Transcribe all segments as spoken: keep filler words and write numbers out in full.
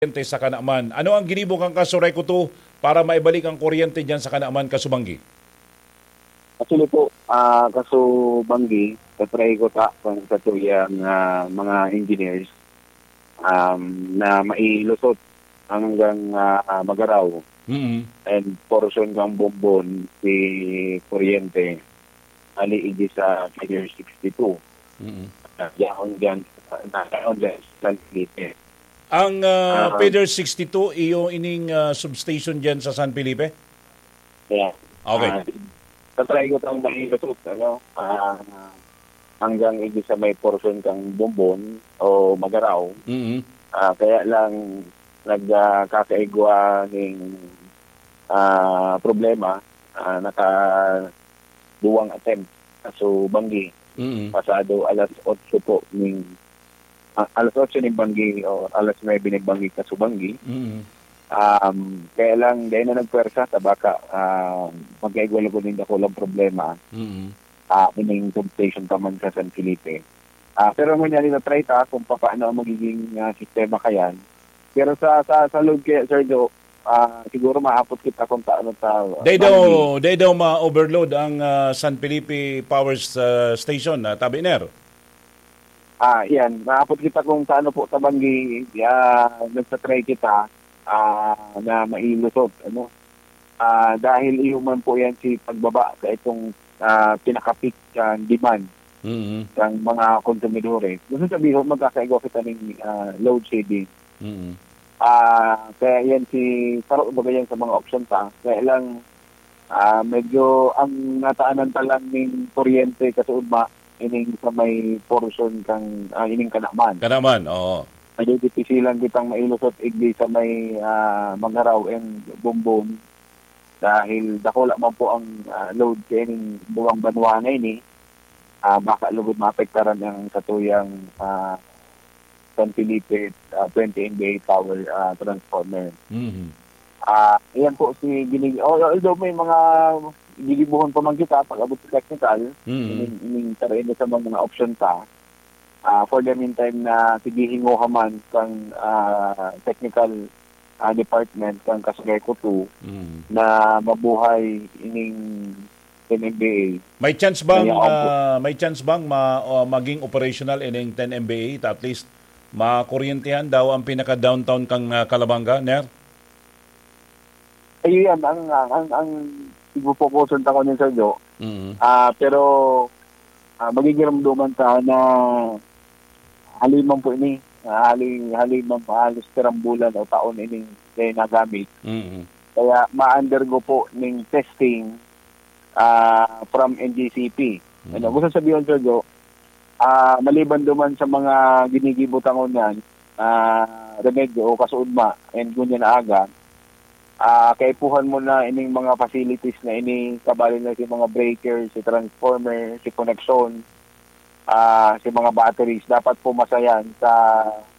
kuryente sa Kanaman. Ano ang ginibo kan Casureco two para maibalik ang kuryente diyan sa Kanaman, Kasubanggi? Actually po, ah, Kasubanggi, tatry ko ta kung sa tuyang, ah, mga engineers, um, na mailusot hanggang, ah, Magaraw Mm. and portion kang Bombon si kuryente, ali idi sa Figure sixty-two. Mm. Ah, yaon dyan, ah, yaon dyan sa San Felipe. Ang, ah, Ah. Feeder sixty-two, iyo ining, ah, substation diyan sa San Felipe? Yeah. Okay. Ah, tatry ko tang mahilusot, ano, ah, hanggang idi sa may portion kang Bombon o Magaraw. Mm. Ah, kaya lang nag, ah, kakaigwa ning, ah, problema, ah, naka duwang attempt. Kasubanggi, Mm. pasado alas otso po ning, ah, alas otso ning banggi o alas nuebe ning banggi, Kasubanggi. Mm. Um, kaya lang, dahil na nagpwersa, ta baka, ah, magkaigwa lugod nin dakulang problema, Mm. ah, ining substation pa man sa San Felipe. Ah, pero ngunyan, ina-try ta kung papaano ang magiging, ah, sistema kayan. Pero sa, sa, sa load kaya, Sir Joe, ah, siguro maapot kita kung taano ta, Dai daw, banggi. Dai daw ma-overload ang, ah, San Felipe Power, ah, Station, ah, Tabiner? Ah, yan. Maapot kita kung taano po ta banggi, ah, nagtatry kita, ah, na mailusot, ano. Ah, dahil iyo man po yan si pagbaba sa itong, ah, pinaka-peak, ah, demand Mm. ng mga konsumidores. Gusto sabihin, magkakaigwa kita ng, ah, load shedding. Mm. Ah, kaya yan si, saro baga yan sa mga option ta. Kaya lang, ah, medyo ang nataanan ta lang ning kuryente kasuodma, ining sa may portion kang, ah, ining Kanaman. Kanaman, oo. Medyo dipisilan kitang mailusot igdi sa may, ah, Magaraw and Bombon. Dahil dakula man po ang, ah, load sa ining duwang banwa na ini, ah, baka lugod maapektaran ang satuyang, ah, San Felipe, ah, twenty M V A power, ah, transformer. Mhm. Ah, iyan po si gini-, al-, although may mga gigibohon pa man kita pag-abot sa technical, Mhm. ining, ining tarayan sa mga, mga option ta. Ah, for the meantime na sige hingoha man kang, ah, technical, ah, department kang Casureco two Mhm. na mabuhay ining M M D A. May chance bang, Kaya ako ah, may chance bang ma-, o maging operational ining ten M V A? At least, makuryentehan daw ang pinaka-downtown kang, ah, Calabanga, Ner? Ayun yan, ang, ang, ang, ang ipopokusan ta ko niyan, Sir Jo. Mm. Ah, pero, ah, magigiramdoman ta na haliman po ini. Ah, hali-, haliman pa halos pirang bulan o taon ining dai nagamit. Mm. Kaya ma-undergo po ning testing, ah, from N G C P. Ano, Mm. gusto sabihin, Sir Jo, ah, maliban duman sa mga ginigibo ta ngunyan, ah, remedyo o kasuodma, and ngunyan na aga, ah, kaipuhan mo na ining mga facilities na ini, kabali na si mga breaker, si transformer, si koneksyon, ah, si mga batteries, dapat pumasa yan sa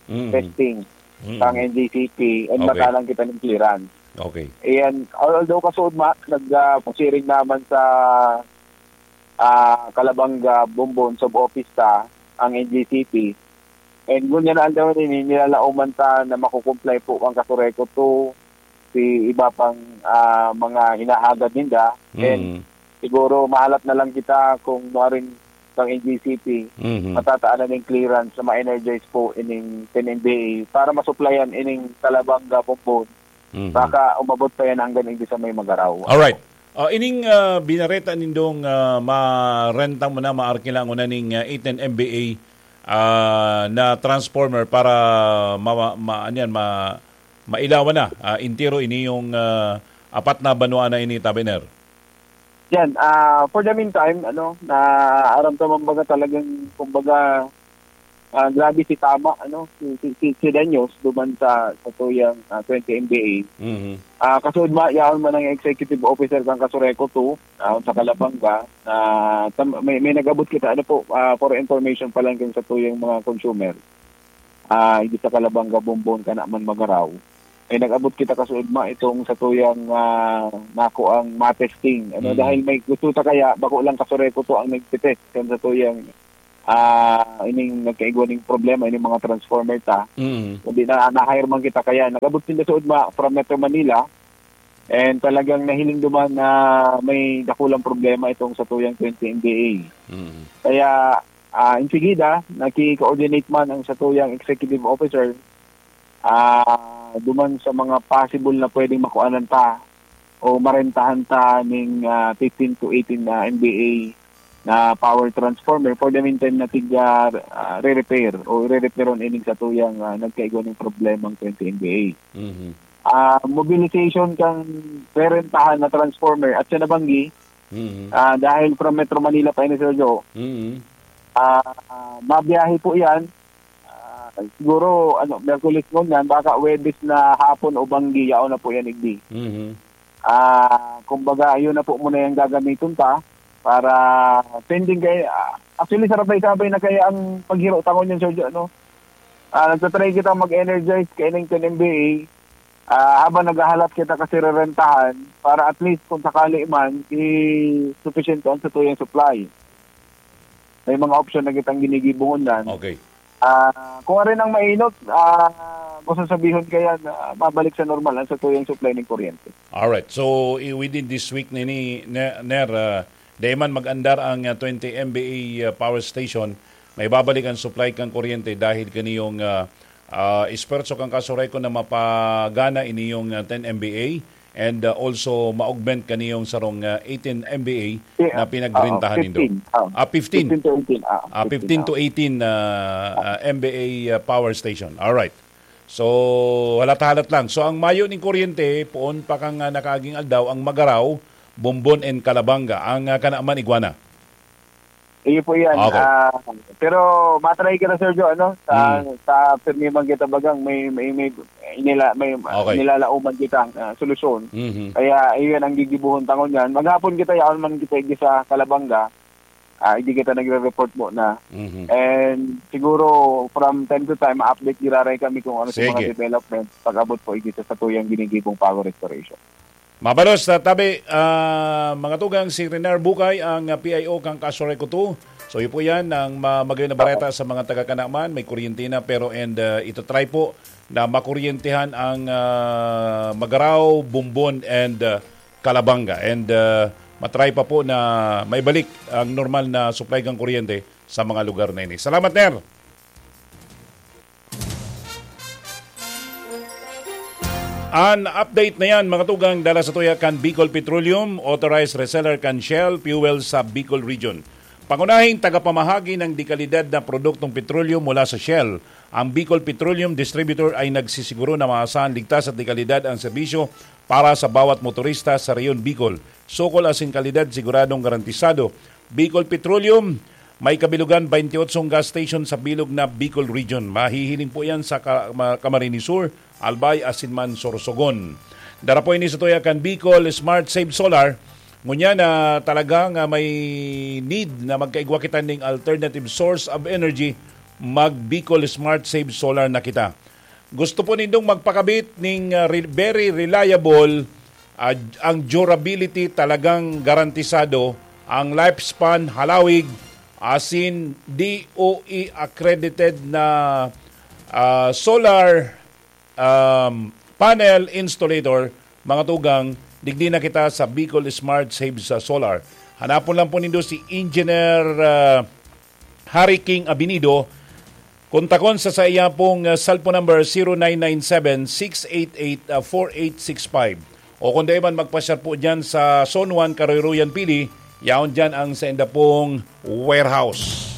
Mm. testing Mm. kang N G C P, and Okay. makanan kita ng clearance. Okay. Ayan, although kasuodma, nag, ah, pasiring naman sa, ah, Calabanga, Bombon, sub-office ta, ang N G C P. And ngunyan na aldaw ini, nilalaoman ta na makukumply po ang Casureco two, si iba pang, ah, mga hinahagad ninda. And Mm. siguro mahalat na lang kita kung nuaring kang N G C P, Mhm. matataan na ning clearance na ma-energize po ining ten M V A para masuplayan ining Calabanga, Bombon. Mhm. Baka umabot pa yan hanggang hindi sa may Magaraw. Alright. Ah, ining, ah, binareta nindong, ah, marenta mo na, maarkila mo na ning, ah, ten M V A, ah, na transformer para ma-, ma-, ano yan, ma-, mailawan na, ah, entero ini yung, ah, apat na banwa na ini, Tabiner? Yan, ah, for the meantime, ano, naaramdaman baga talagang, kumbaga, ah, grabe si tama, ano, si, si, si, si Danyos duman sa, sa tuyang, ah, twenty M B A. Mhm. Ah, kasuodma, yaon man ang executive officer kang Casureco two, ah, sa Calabanga, na tam-, may, may nag-abot kita, ano po, ah, for information pa lang kang sa tuyang mga consumer. Ah, hindi sa Calabanga, Bombon, kana man Magaraw. May nag-abot kita kasuodma itong sa tuyang, ah, nako ang matesting. Ano, Mm. dahil may gusto ta kaya, bako lang Casureco two ang nagtitest kan sa tuyang ah, ining nagkaigwa ning problema, ining mga transformer ta. Mm. Kundi na, na-hire man kita kaya. Nag-abot sinda suod ma-, from Metro Manila, and talagang nahiling duman na may dakulang problema itong satuyang twenty M V A. Mm. Kaya, ah, insigida, naki-coordinate man ang satuyang executive officer, ah, duman sa mga possible na pwedeng makuanan ta o marentahan ta ning, ah, fifteen to eighteen na M V A na power transformer. For the meantime, na tig, ah, ah, re-repair o re-repairon ining satuyang, ah, nagkaigwa ning problemang twenty M V A. Mhm. Ah, mobilization kan rerentahan na transformer at sa nabanggi, Mhm. ah, dahil from Metro Manila pa ini, Sir Joe, Mhm. ah, mabiyahe po yan. Ah, siguro, ano, Miyerkules ngunyan, baka Huwebes na hapon o banggi, yaon na po yan, igdi. Mhm. Ah, kumbaga, yun na po muna yung gagamiton ta para pending kay, ah, actually, sarabay-sabay na kaya ang paghiro tangon yan, Sir Jo, ano? Ah, nagtatry kita mag-energize kay ning ten M V A. Ah, habang naghahalat kita kasi rerentahan para at least kung sakali man, i-, sufficient ang satuyang supply. May mga option na kitang ginigibo ngunyan. Okay. Ah, kung ari nang mainot, ah, masasabihon kaya na mabalik sa normal ang satuyang supply ng kuryente. Alright. So, i-, within this week, nini, ne-, Ner, ah, dai man mag-andar ang, ah, twenty M V A, ah, power station, may babalik ang supply kang kuryente dahil kaniyong, ah, ah, esfuerzo kang Kasoreco na mapagana iniyong, ah, ten M V A and, ah, also ma-augment kaniyong sarong, ah, eighteen M V A Yeah, na pinagrentahan oo, nindo. fifteen, oo. Ah, fifteen. Fifteen to eighteen, ah, Ah, fifteen, fifteen to oo. eighteen, ah, ah, M V A, ah, power station. Alright. So, halat-halat lang. So, ang mayo ning kuryente, poon pa kang, ah, nakaaging aldaw, ang Magarao, Bombon and Calabanga. Ang, ah, kana man, igwa na. Iyo po yan. Okay. Ah, pero matry kita, Sir Jo, ano? Sa, Mm. sa pirmi man kita bagang may, may, may, inila-, may Okay. nilalaoman kita, ah, solusyon. Mhm. Kaya iyon ang gigibuhon tangon yan. Maghapon kita, yaon man kita igdi sa Calabanga. Ah, igdi kita nagre-report muna. Mhm. And siguro from time to time, ma-update giraray kami kung ano sa mga Sige. development pag-abot po igdi sa satuyang ginigibong power restoration. Mabalos na tabi, ah, mga tugang, si Renar Bukay, ang, ah, P I O kan Kasoreco two. So, yun po yan, ang ma-, magayon na Opo. bareta sa mga taga-Canaman. May kuryente na, pero and, ah, ito try po na makuryentehan ang, ah, Magarao, Bombon, and, ah, Calabanga. And, ah, matry pa po na maibalik ang normal na supply ng kuryente sa mga lugar na ini. Salamat, Ner! An update na yan, mga tugang, dala sa tuya kan Bicol Petroleum, authorized reseller kan Shell Fuel sa Bicol Region. Pangunahing tagapamahagi ng dekalidad na produktong petrolyo mula sa Shell, ang Bicol Petroleum Distributor ay nagsisiguro na maasahan, ligtas at dekalidad ang serbisyo para sa bawat motorista sa Rehiyon Bicol. Sukol asin kalidad siguradong garantisado. Bicol Petroleum, may kabilugan twenty-eight gas station sa bilog na Bicol Region. Mahihiling po yan sa Ka-, Ma-, Camarines Sur, Albay, asin man Sorsogon. Dara po ini sa tuya kan Bicol Smart Save Solar. Ngunyan na talaga nga may need na magkaigwa kita ning alternative source of energy, mag Bicol Smart Save Solar na kita. Gusto po nindong magpakabit ning, ah, re-, very reliable, ah, ang durability talagang garantisado, ang lifespan halawig, asin D O E accredited na, ah, solar, um, panel installator, mga tugang, digdi na kita sa Bicol Smart Save sa Solar. Hanapon lang po nindo si Engineer, ah, Harry King Abinido, kontakon sa saiya pong, ah, cellphone number, zero nine nine seven, six eight eight, ah, four eight six five. O kung dai man, magpasyar po dyan sa Zone one, Karoyroyan, Pili. Yaon dyan ang sainda pong warehouse.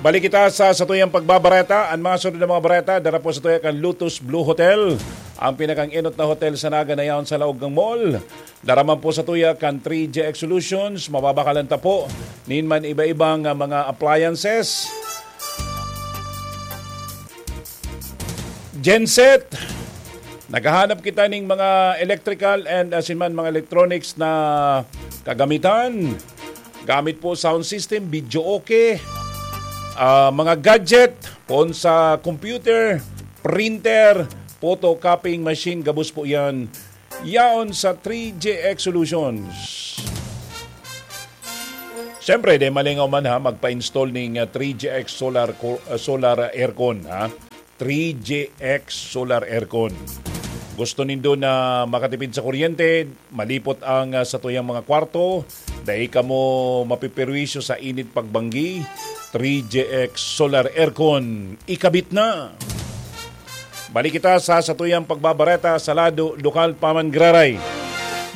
Balik kita sa satuyang pagbabareta. Ang mga sunod na mga bareta, dara po sa tuya kan Lotus Blue Hotel, ang pinakang enot na hotel sa Naga na yaon sa laog ng mall. Dara man po sa tuya kan three J X Solutions, mababakalan ta po nin man iba-ibang, ah, mga appliances. Genset, naghahanap kita ning mga electrical and asin man mga electronics na kagamitan. Gamit po sound system, video okay, ah, mga gadget, poon sa computer, printer, photocopying machine, gabos po yan. Yaon sa three J X Solutions. Siyempre, di malingaw man ha, magpa-install ning, ah, three G X solar co-, ah, solar aircon, ha? Three G X solar aircon. Gusto nindo na makatipid sa kuryente, malipot ang, ah, satuyang mga kwarto, dai kamo mapiperwisyo sa init pagbanggi, three G X solar aircon, ikabit na! Balik kita sa satuyang pagbabareta sa lado lokal pa man giraray.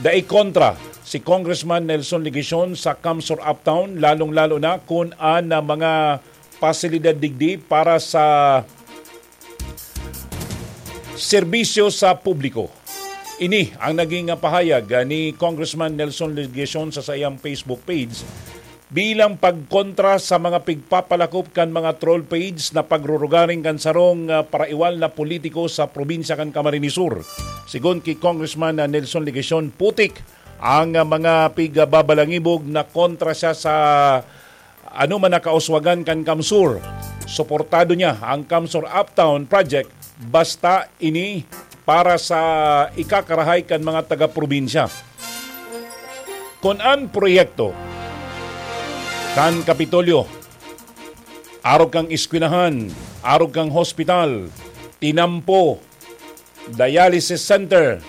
Dai kontra si Congressman Nelson Legacion sa CamSur Uptown, lalong-lalo na kun an, ah, mga pasilidad digdi para sa serbisyo sa publiko. Ini ang naging, ah, pahayag, ah, ni Congressman Nelson Legacion sa saiyang Facebook page bilang pagkontra sa mga pigpapalakop kan mga troll page na pagrurugaring kan sarong, ah, paraiwal na politiko sa probinsya kan Camarines Sur. Sigon ki Congressman, ah, Nelson Legacion, putik ang, ah, mga pigbabalangibog na kontra siya sa ano man na kauswagan kan CamSur. Suportado niya ang CamSur Uptown Project basta ini para sa ikakarahay kan mga taga-probinsya. Kun an proyekto kan Kapitolyo, arog kan eskwelahan, arog kan hospital, tinampo, dialysis center,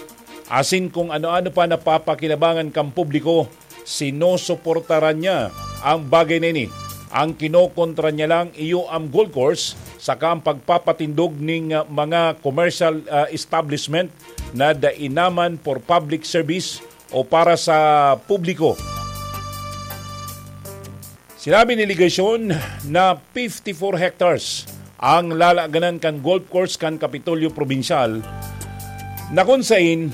asin kung ano-ano pa na papakinabangan kan publiko, sinusuportaran niya ang bagay na ini. Ang kinokontra niya lang iyo ang golf course saka ang pagpapatindog ning, ah, mga commercial, ah, establishment na dai naman for public service o para sa publiko. Sinabi ni Legacion na fifty-four hectares ang lalaganan kan golf course kan Kapitolyo Probinsyal, na kun sain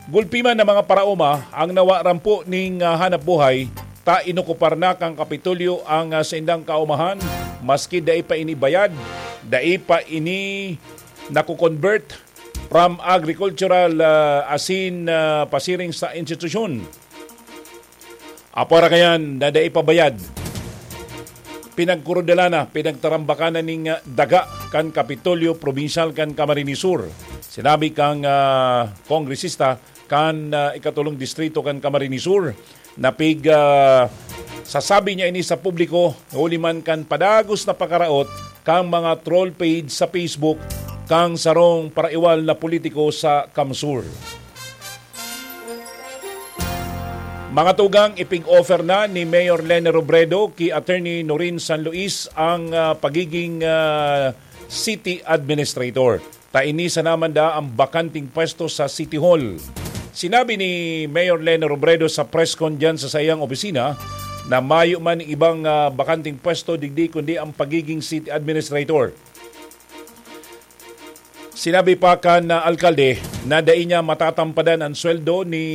gulpi man na mga paraoma ang nawa rampo ning, ah, hanap buhay, ta inokupar na kan Kapitolyo ang, ah, saindang kaomahan, maski dai pa ini bayad, dai pa ini nako-convert from agricultural, ah, asin, ah, pasiring sa institusyon. Apwera kayan na dai pa bayad, pinagkurudalan na, pinagtarambakan na ning, ah, daga kan Kapitolyo Probinsyal kan Camarines Sur. Sinabi kang, ah, kongresista kan, ah, ikatulong distrito kan Camarines Sur, na pig, ah, sasabi niya ini sa publiko, huli man kan padagos na pakaraot kang mga troll page sa Facebook kang sarong paraiwal na politiko sa CamSur. Mga tugang, ipig-offer na ni Mayor Leni Robredo ki Attorney Norin San Luis ang, ah, pagiging, ah, city administrator. Ta ini sana man daa ang bakanting pwesto sa City Hall. Sinabi ni Mayor Leni Robredo sa press con diyan sa saiyang opisina na mayo man ibang, ah, bakanting pwesto digdi kundi ang pagiging city administrator. Sinabi pa kan, ah, alkalde na dai niya matatampadan an sweldo ni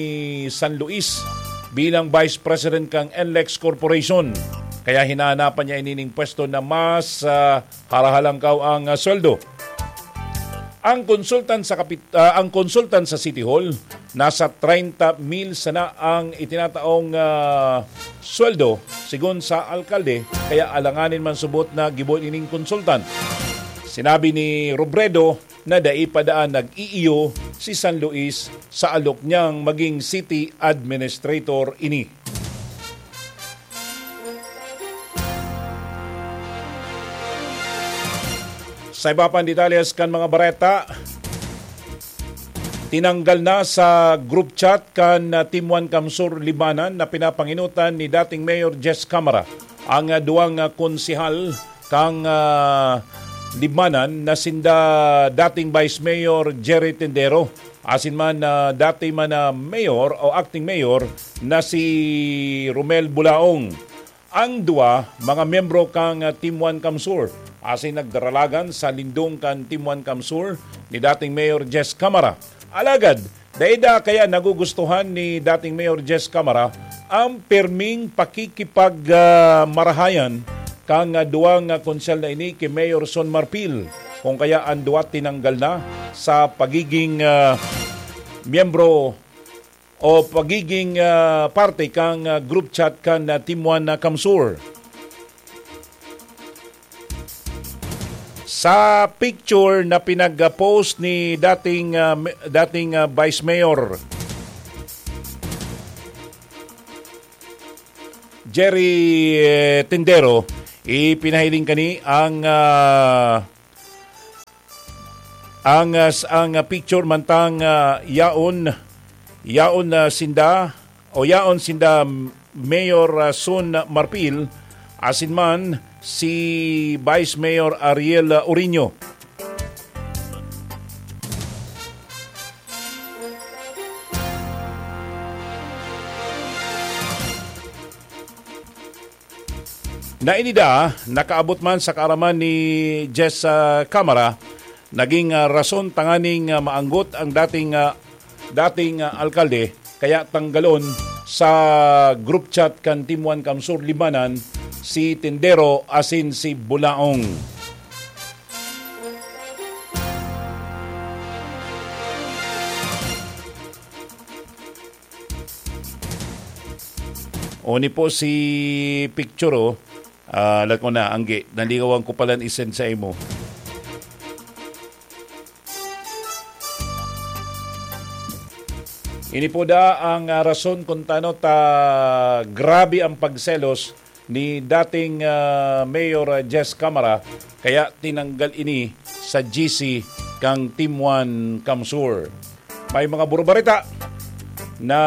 San Luis bilang Vice President kan NLEX Corporation. Kaya hinahanapan niya ini ning pwesto na mas, ah, harahalangkaw ang, ah, sweldo. Ang konsultan sa kapit-, ah, ang konsultan sa City Hall, nasa treinta mil sana ang itinataong, ah, sweldo, sigon sa alkalde, kaya alanganin man subot na gibo nining konsultan. Sinabi ni Robredo na dai pa daan nag-iiyo si San Luis sa alok niyang maging city administrator ini. Sa iba pang detalles kan mga bareta, tinanggal na sa group chat kan, ah, Team One CamSur Libmanan na pinapangenotan ni dating Mayor Jess Camara ang, ah, duwang, ah, konsehal kan, ah, Libmanan na sinda dating Vice Mayor Jerry Tendero asin man, ah, dati man na mayor o acting mayor na si Romel Bulaong. Ang duwa, mga miyembro kan, ah, Team One CamSur, asin nagdaralagan sa lindong kan Team One CamSur ni dating Mayor Jess Camara. Alagad, dai da kaya nagugustuhan ni dating Mayor Jess Camara ang pirming pakikipag, ah, marahayan kan, ah, duwang, ah, konsehal na ini ki Mayor Son Marfil, kung kaya an duwa tinanggal na sa pagiging, ah, miyembro o pagiging, ah, parte kan, ah, group chat kan, ah, Team One na CamSur. Sa picture na pinag-post ni dating, ah, me-, dating, ah, Vice Mayor Jerry, eh, Tindero, ipinahiling kani ang, ah, ang, ah, s-, ang, ah, picture mantang, ah, yaon, yaon na sinda, o yaon sinda Mayor, ah, Son Marpil, asin man si Vice Mayor Ariel, ah, Orino. Na inida, nakaabot man sa kaaraman ni Jess, ah, Camara, naging, ah, rason tanganing, ah, maanggot ang dating, ah, dating, ah, alkalde, kaya tanggalon sa group chat kan Team One Kamsur Libmanan si Tindero asin si Bulaong. Oni po si picture, oh. Ah, alat ko na, Angge. Nalingawan ko palan i-send sa imo. Ini po da ang, ah, rason kung tano ta grabe ang pagselos ni dating, ah, Mayor, ah, Jess Camara, kaya tinanggal ini sa G C kang Team One Kamsur. May mga burubareta na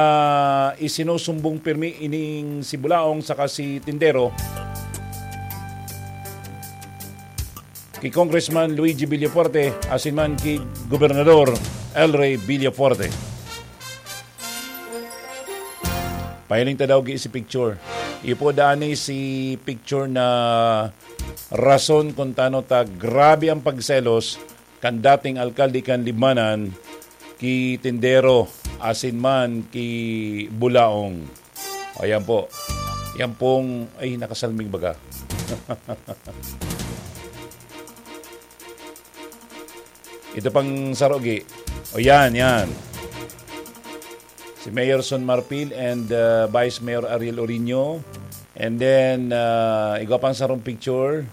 isinusumbong pirmi ining si Bulaong saka si Tindero ki Congressman Luigi Villafuerte asin man ki Gobernador El Rey Villafuerte. Pahiling ta daw gi si picture. Ipo dani si picture na rason kung tano ta grabe ang pagselos kan dating alkalde kan Libmanan ki Tindero asin man ki Bulaong. O, yan po. Yan pong, ay, nakasalming baga. Ito pang sarogi. O, yan, yan. Si Mayor Son Marpil and, uh, Vice Mayor Ariel Orino. And then, uh, igwa pang sarong picture.